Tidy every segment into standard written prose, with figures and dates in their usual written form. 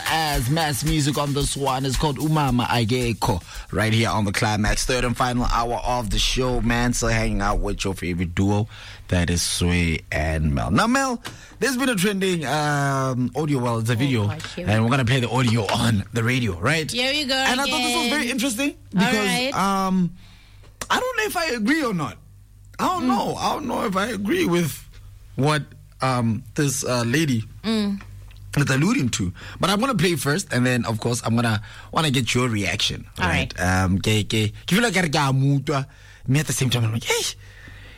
as Mass Music on this one. It's called Umama Ageko, right here on the Climax, third and final hour of the show, man. So hanging out with your favorite duo, that is Sway and Mel. Now, Mel, there's been a trending audio, well, it's a video, gosh, here we and we're going to play the audio on the radio, right? Here we go And I thought this was again. very interesting because right. I don't know if I agree or not. I don't know. I don't know if I agree with what this lady is alluding to. But I'm gonna play first, and then of course I'm gonna wanna get your reaction. All right. Ke feel like ke a mo utlwa, mme at the same time I'm like, hey,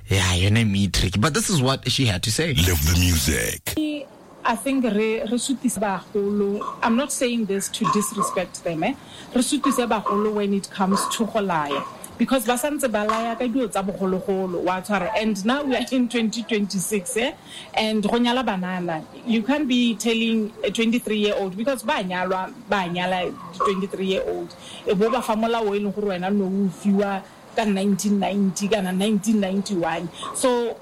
yeah, your name is tricky. But this is what she had to say. Live the music. I think re sutise bagolo. I'm not saying this to disrespect them, eh? Re sutise bagolo when it comes to go laya, because ba santse ba laya ka dilo tsa bogologolo, wa tshwara. And now we are in 2026, eh? And go nyala banana, you can't be telling a 23-year-old, because ba nyalwa, ba nyala 23-year-old, e bo ba fa molao e leng gore wena no o fiwa ka 1990 kana 1991. So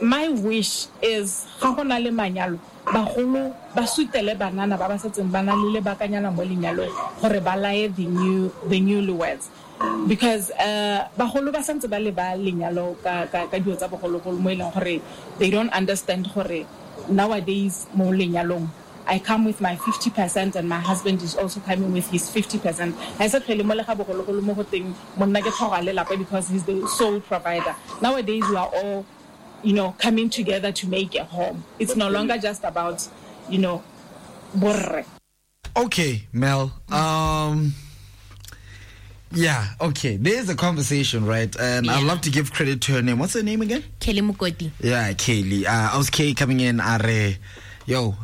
my wish is ga go na le manyalo, bagolo ba sutele banana ba ba setseng ba na le lebakanyana mo lenyalong gore ba laye the newlyweds, because bagolo ba santse ba leba lenyalo ka dilo tsa bogologolo mo e leng gore they don't understand gore nowadays mo lenyalong I come with my 50% and my husband is also coming with his 50%. I said, "Phele mo le ga bogologolo mo go teng, monna ke tlhogo a lelapa because he's the sole provider." Nowadays we are all, you know, coming together to make a home. It's no longer just about, you know, borre. Okay, Mel. Yeah, okay. There's a conversation, right? And I'd love to give credit to her name. What's her name again? Kelly Mukoti. Yeah, Kelly. I was Kay coming in. Are, yo,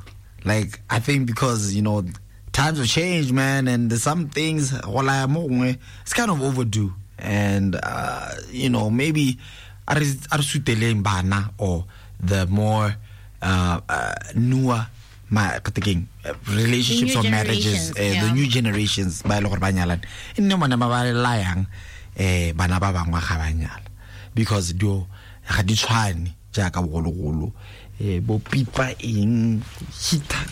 like, I think because, you know, times have changed, man, and there's some things, it's kind of overdue. And, you know, maybe or the more newer relationships or marriages, the new generations, ba e le gore ba nyalane, e nne bone ba ba layang, bana ba bangwe ga ba nyala, because dio ga di tshwane jaaka bogologolo, bo pipa eng heater,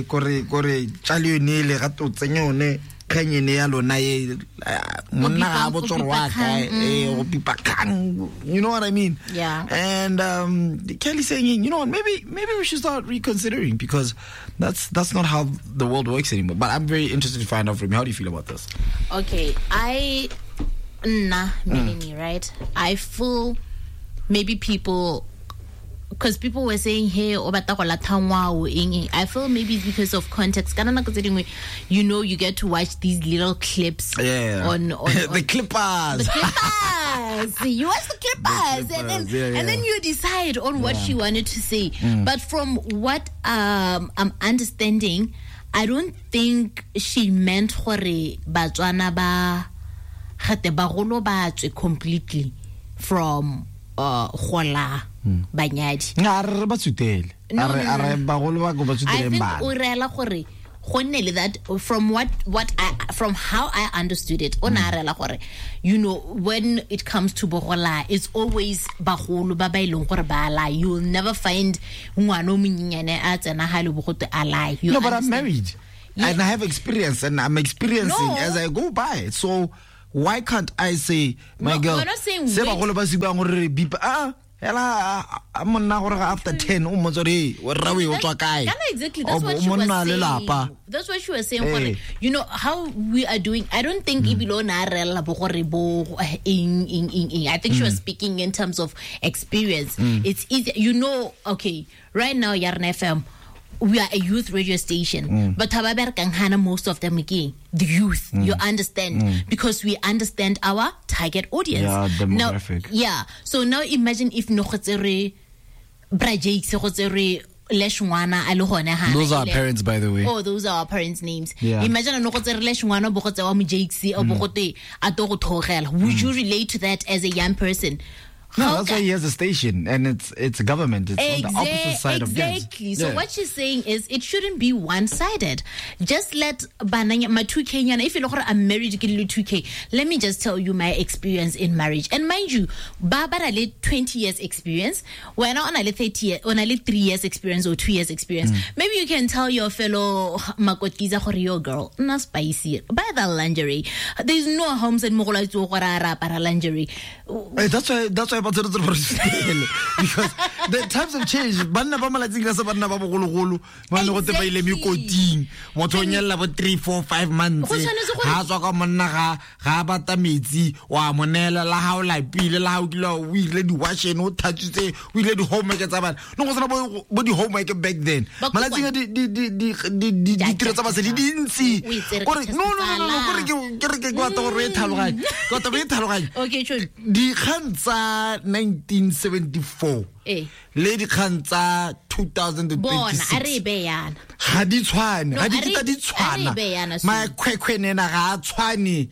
kore tšale yone ele ga to tsenya yone kgang ene ya lona e monna ga a botse gore wa kae, go pipa kgang, you know what I mean? Yeah. And Kelly saying, you know what, maybe we should start reconsidering, because that's not how the world works anymore. But I'm very interested to find out from you, how do you feel about this? Okay, Melanie, right? I feel maybe people, because people were saying, hey, o batla go latha ngwao, eng, eng. I feel maybe it's because of context. Ka nako tse dingwe, you know, you get to watch these little clips. Yeah. On the clippers. The clippers. You watch the clippers. The clippers. And then you decide on what she wanted to say. But from what I'm understanding, I don't think she meant gore Batswana ba gate bagolo ba tswe completely from gola banyadi. A re ba tsutele. No, A re bagolo ba go ba I tsuteleng think bana. o reela gore go nne le that, from what I, from how I understood it, o na reela gore, you know, when it comes to bogola, it's always bagolo ba ba e leng gore ba lie. You will never find ngwana o monyenyane a tsena ha le bogote a lie. You No, but I'm understand? married. Yeah. And I have experience, and I'm experiencing as I go by. So why can't I say, my No, girl, we're not saying se wait. bagolo ba se buang gore re bipa, hela, a monna gore after 10 o mmotse gore, hey, o rra o e o tswa kae? Kana exactly, that's O what she was monna saying. lelapa. That's what she was saying. Hey. Gore, you know how we are doing. I don't think ebile o na rela bo gore bo eng, eng, eng, eng. I think she was speaking in terms of experience. It's easy, you know. Okay, right now Yarna FM, we are a youth radio station, but ha ba berekang hana, most of them again, the youth. You understand? Because we understand our target audience. Yeah, demographic. Now, yeah. So now imagine if no go tsere Bra Jakes, go tsere Lesh ngwana a le gone hana, Those are ele- parents, by the way. Oh, those are our parents' names. Yeah. Imagine no go tsere Lesh ngwana bo go tsewa mo Jakes, o bo go te a to go thogela. Would you relate to that as a young person? No, that's why he has a station, and it's government. It's on the opposite side of guns. Exactly. So what she's saying is it shouldn't be one-sided. Just let bananya my 2K nyana, if you look, I'm married ke le 2K. Let me just tell you my experience in marriage. And mind you, ba ba na le 20 years experience, wena o na le 30 years, o na le 3 years experience or 2 years experience. Maybe you can tell your fellow makotiza gore your girl na spicy. Buy that lingerie. There's no homes and mogolo a itse gore a re apara lingerie. Hey, that's why because the times have changed. Banna ba malatsing ka se banna ba bogologolo ba ne go te ba ile mekoting, motho o nyella bo 3 4 5 months, Go tshwanetse gore- ha tswa ka monna ga bata metsi wa mo neela, la ha o lapile, la ha o kile o ile di-washing, o thatsitse, o ile di-homework tsa bana. No go sena bo di-homework back then. Ba Malatsing a ditiro tsa basadi di dintsi. O itsere ka Kore, no, kore ke batla gore o e tlhaloganye. Ke batla o e tlhaloganye. Okay, sure. Dikgang tsa 1974 le dikgang tsa 2026 Bona, a re e beye yana. Ga di tshwane, No, ga di a re- kitla di a re tshwana. e beye yana, Sue. Makhwekhwenena ga a tshwane,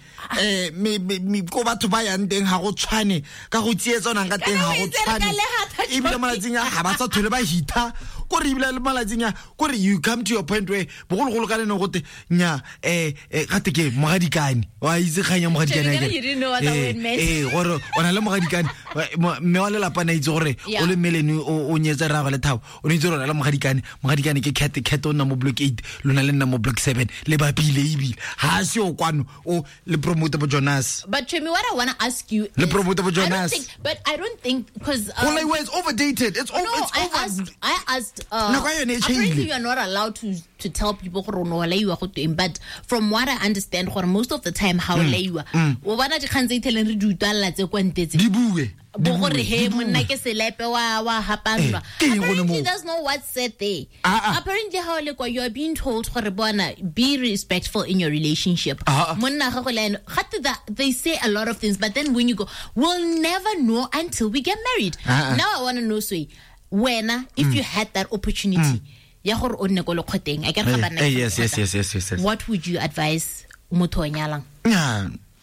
ko batho ba yang teng ga go tshwane, ka go tsietsanang ka teng Kana ga o go itse re ka tshwane. lehata, Ebile Johnny. malatsing a ga ba sa tlhole ba hitha, kore ebile le malatsing a kore you come to your point where bogologolo ka le ne gote nya gate ke mogadikane, wa itse kgang ya mogadikane Johnny, akere? you didn't know what that word meant. Gore o na le mogadikane, mme wa lelapa ne a itse gore o le mmelene o nyetse rraagwe le Thabo, o ne itse gore o na le mogadikane, mogadikane ke cat, cat o nna mo block 8, lona le nna mo block 7, le bapile ebile ga se o kwano o le promote bo Jonas. But Chomi, what I want to ask you Le is, promote bo I don't Jonas. think, but I don't think because Go laiwa is overdated. It's over. No, It's over. I asked. Nako ya yone e Apparently change-ile. you are not allowed to tell people gore o ne wa laiwa go tweng, but from what I understand, gore most of the time how laiwa, o bona dikgang tse itheleng re di utlwalela tse kwa ntle tse. Di bue. Bo gore he monna ke selepe wa hapandwa. Ke eng gone Apparently moo? that's not what's said there. Ah, ah. Apparently how le kwa you are being told gore bona be respectful in your relationship. Ah, ah. Monna ga go le ene, gate they say a lot of things, but then when you go, we'll never know until we get married. Ah, ah. Now I want to know, Sway, wena if you had that opportunity ya gore o nne ko lekgoteng, a ke re ga banna ke lekgotla. Yes. What would you advise motho o nyalang?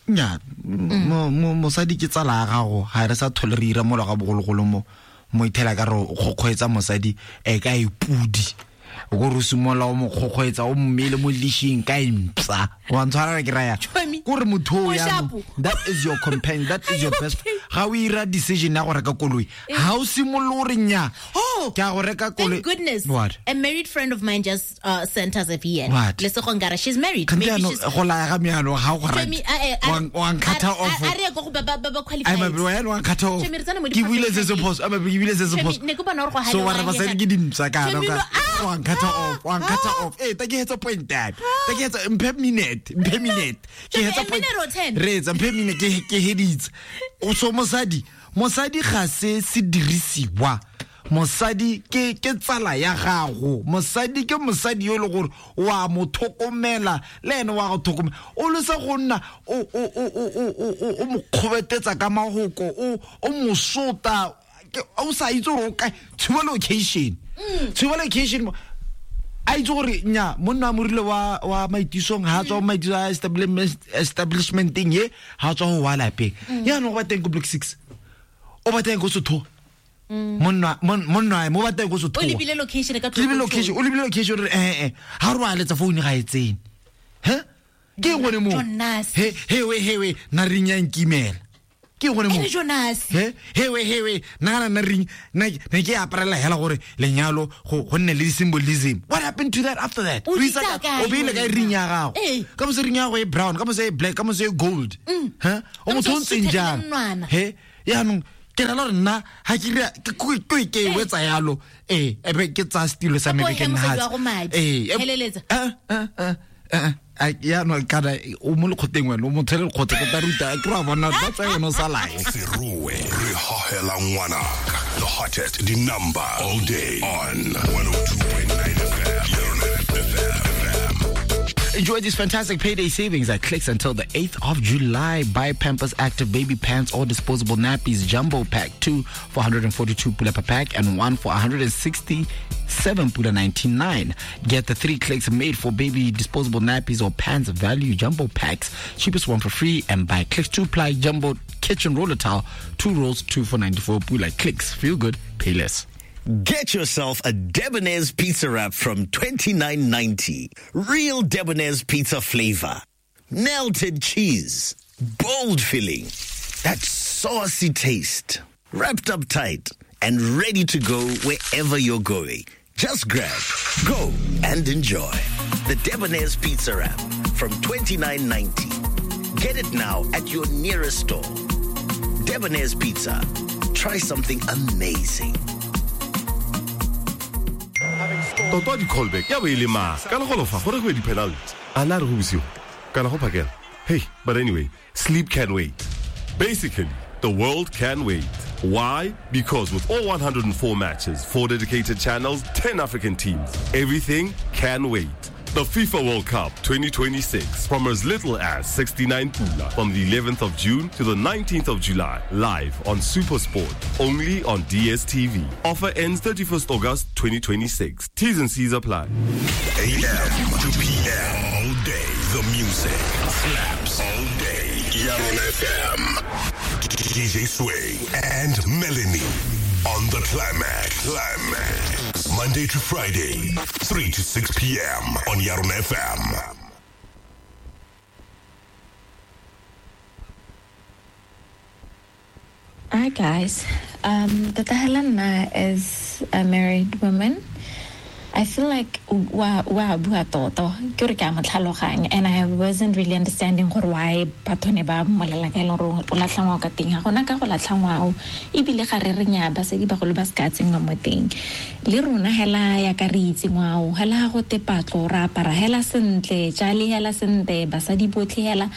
Nya, mosadi ke tsala ya gago, ga re sa tlhole re ira mola ga bogologolo mo ithela ka re o kgokgoetsa mosadi ka e pudi. O ko re o simolola o mo kgokgoetsa, o mmele mo leashing ka e mpsa. Wa ntshwara re ke raya. Chomi. Kore motho o O yaanong, sharp. that is your companion, that is your best. Okay? Ga o ira decision ya go reka koloi, ga o simolole o re nya, Oh, ke a go reka koloi. Thank goodness. What? A married friend of mine just sent us a VN. What? Lesego Ngara, she's married. Kante Maybe yaanong, she's go laya ga meano ga o go Chomi, rate. Wa nkgatha off. a re ye ko go ba qualified. Ai, mabe, wena wa nkgatha off. Chomi, re tsena mo Ke buile se se di-professional phoso. Ai, mabe, ke buile se se Chomi, phoso. ne ke bona gore go So wa re halewa basadi ke ke dimpsa kana Chomi, ka. no, ah, Wa nkgatha off, wa nkgatha off. Ta ke hetsa point ya me. Ta ke hetsa, mphe minute, mphe minute. Ke Chomi, hetsa a point. minute or 10? Reetsa, mphe minute, ke heditse. O so mosadi ga se sedirisiwa. Mosadi ke tsala ya gago. Mosadi ke mosadi yo e le gore wa mo tlhokomela, le ene wa go tlhokomela. O lesa go nna o mo kgobetetsa ka mahoko, o mo sota, o sa itse gore o kae. Tshuba location. Tshuba location. A itse gore nya monna wa morile wa maitisong, ha tswa maitiso a establishmenteng ye, ha tswa ho wa lapeng. Yaanong o ba teng ko block 6. O ba teng ko Sotho. Monna mo ba teng ko Sotho. O lebile location ka Ke lebile location, o lebile location re ha re wa letsa phone ga e tsene. He? Ke eng gone moo? Jonas. He we na ring ya nkimela. Ke eng gone moo? Ene Jonas. He we na na ring na ne ke aparela hela gore lenyalo go nne le symbolism. What happened to that after that? O O di isa tsaya ka- kae o beile kae wena? ring ya gago? Ka mose ring ya gago e brown, ka mose e black, ka mose e gold. He? O Ka mose motho o o ntseng suthela jang? monwana. He? Yaanong ke rela gore nna ha ke ira ke e wetsa yalo, ebe ke tsaya setilo sa me Gape o be ke he mosadi nna wa go madi. Feleletsa. Yaanong kana o mo lekgoteng wena, o motho le lekgotla, ke tla ruta, ke ra bona, that's why wena o sa lae. Serowe re hohela ngwanaka. The hottest the number all day on 102.9 FM. Your FM. Enjoy these fantastic payday savings at Clicks until the 8th of July. Buy Pampers Active Baby Pants or disposable nappies jumbo pack 2 for 142 pula per pack and 1 for 167 pula 99. Get the 3 Clicks made for baby disposable nappies or pants value jumbo packs. Cheapest one for free, and buy Clicks 2-ply jumbo kitchen roller towel, 2 rolls, 2 for 94 pula. Clicks, feel good, pay less. Get yourself a Debonair's pizza wrap from $29.90. Real Debonair's pizza flavor. Melted cheese. Bold filling. That saucy taste. Wrapped up tight and ready to go wherever you're going. Just grab, go, and enjoy. The Debonair's pizza wrap from $29.90. Get it now at your nearest store. Debonair's Pizza. Try something amazing. Toto a di-callback ya bo e le mang kana go lofa gore go ye di-penalty a na re go bosigo kana go phakela. Hey, but anyway, sleep can wait. Basically, the world can wait. Why? Because with all 104 matches, 4 dedicated channels, 10 African teams, everything can wait. The FIFA World Cup 2026 from as little as 69 pula from the 11th of June to the 19th of July, live on SuperSport, only on DSTV. Offer ends 31st August 2026. T's and C's apply. AM to PM, all day, the music slaps all day. Yarona FM, DJ Sway and Melanie on the Climax. Monday to Friday, 3 to 6 p.m. on Yarona FM. Hi guys, Tata Helena is a married woman. I feel like wa bua toto ke re ke a mo tlhaloganya, and I wasn't really understanding gore why batho ne ba mmolela ka e leng gore o latlha ngwao ka teng. Ga gona ka go latlha ngwao, ebile ga re re nya basadi bagolo ba se ka tsenngwa mo teng. Le rona hela ya ka re itse ngwao, hela ga go te patlo ra apara hela sentle, jale hela sentle, basadi botlhe hela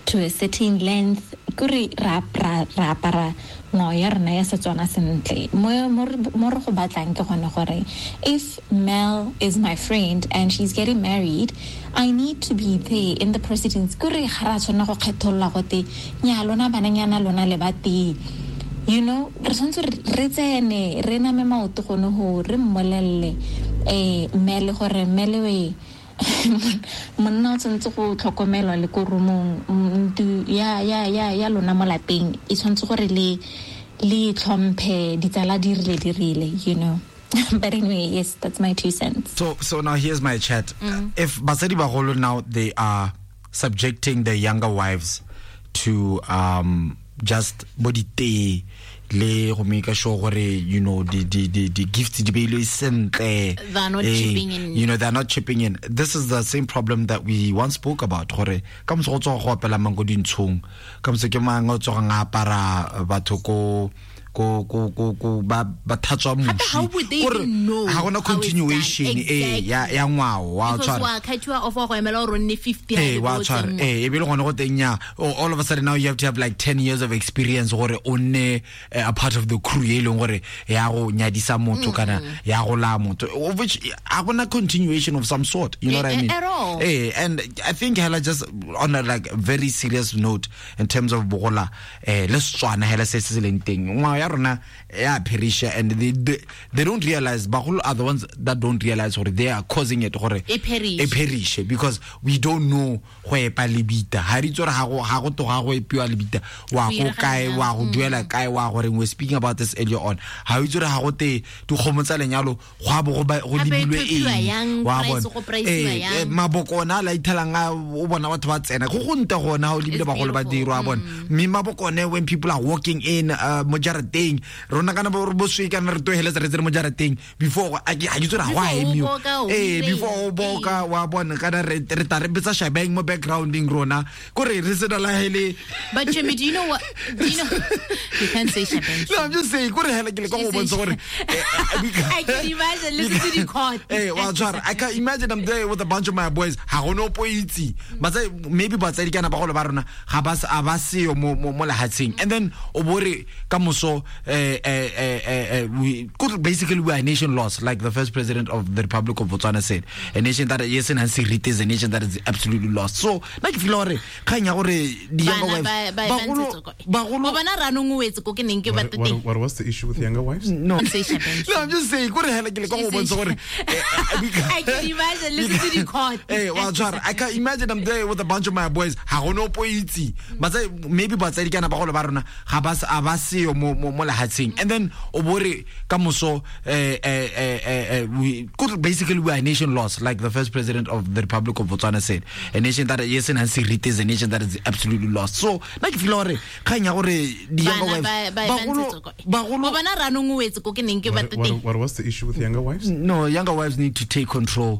to a certain length, kore ra apara ngwao ya rona ya Setswana sentle. Mo re go batlang ke gone gore if Mel is my friend and she's getting married, I need to be there in the proceedings. Kore ga ra tshwanela go kgetholola gote nya lona bananyana lona le ba tee. You know, re tshwanetse re tsene re name maoto gone ho re mmolelle Mel gore Mel we monna o tshwanetse go tlhokomelwa le ko romong ntlo ya lona mo lapeng e tshwanetse gore le tlhomphe ditsala di rile, you know. But anyway, yes, that's my 2 cents. So now here's my chat. If basadi bagolo now they are subjecting their younger wives to just body tee le go make sure gore, you know, the gifts di beilwe sentle, they're not chipping in, you know, they're not chipping in. This is the same problem that we once spoke about gore ka motse go tswa go opela mang ko dintshong, ka motse ke mang o tswa nga apara batho ko ko ko ko ko ba ba thatswa mushi gore ha gona continuation e ya ngwao wa tshwara wa khathiwa off go emela gore nne 50 wa tshwara e be le gone go teng ya all of a sudden now you have to have like 10 years of experience gore o nne a part of the crew e leng gore ya go nyadisa motho kana ya go la motho, which ha gona continuation of some sort, you know what I mean? At all. And I think hela just on a like very serious note in terms of bogola le Setswana hela se se leng teng ya rona ya perisha, and they don't realize, bagolo are the ones that don't realize gore they are causing it gore e perish, because we don't know go epa lebita ha re itse gore ha go toga go epiwa lebita wa go kae wa go duela kae wa gore. We speaking about this earlier on, ha o itse gore ha go te dikgomo tsa lenyalo go a bo go lebilwe eng wa bona maboko ona la ithelang o bona batho ba tsena go go nte gona o lebile bagolo ba dirwa bona mme maboko one when people are walking in mo jarateng rona kana bo swe kana re toheletsa re tsere mo jarateng before a ke itse gore ga emiwa before o boka wa bona kana re ta re betsa shabeng mo backgrounding rona kore re sena la hele. But Jimmy, do you know what, do you know, you can't say shabeng. No, I'm just saying kore hela ke le ka go bontsha gore I can imagine listen to the court. Wa tshwara, I can imagine I'm there with a bunch of my boys ha go no poitsi ba tsa maybe batsadi kana bagolo ba rona ga ba seo mo lehatsheng, and then o bore ka moso moso, we basically we are a nation lost, like the first president of the Republic of Botswana said, a nation that yes and serite is a nation that is absolutely lost. So nna ke feel gore kgang ya gore di younger wives bagolo bagolo bona ranong o wetse ko ke neng ke batla teng. What was the issue with younger wives? No, no, I'm just saying kore hela ke le ka go bontsha gore I can imagine listen to the court. Eh, wa tshwara, I can imagine I'm there with a bunch of my boys, ga go no po itse batsadi, maybe batsadi kana bagolo ba rona ga ba a ba seyo mo mo lehatsheng, and then o bo re ka moso, we basically we are a nation lost, like the first president of the Republic of Botswana said, a nation that yes and serite is a nation that is absolutely lost. So nna ke feel gore kgang ya gore di younger wives bagolo bagolo bona ranong o wetse ko ke neng ke batla teng. What was the issue with younger wives? No, younger wives need to take control.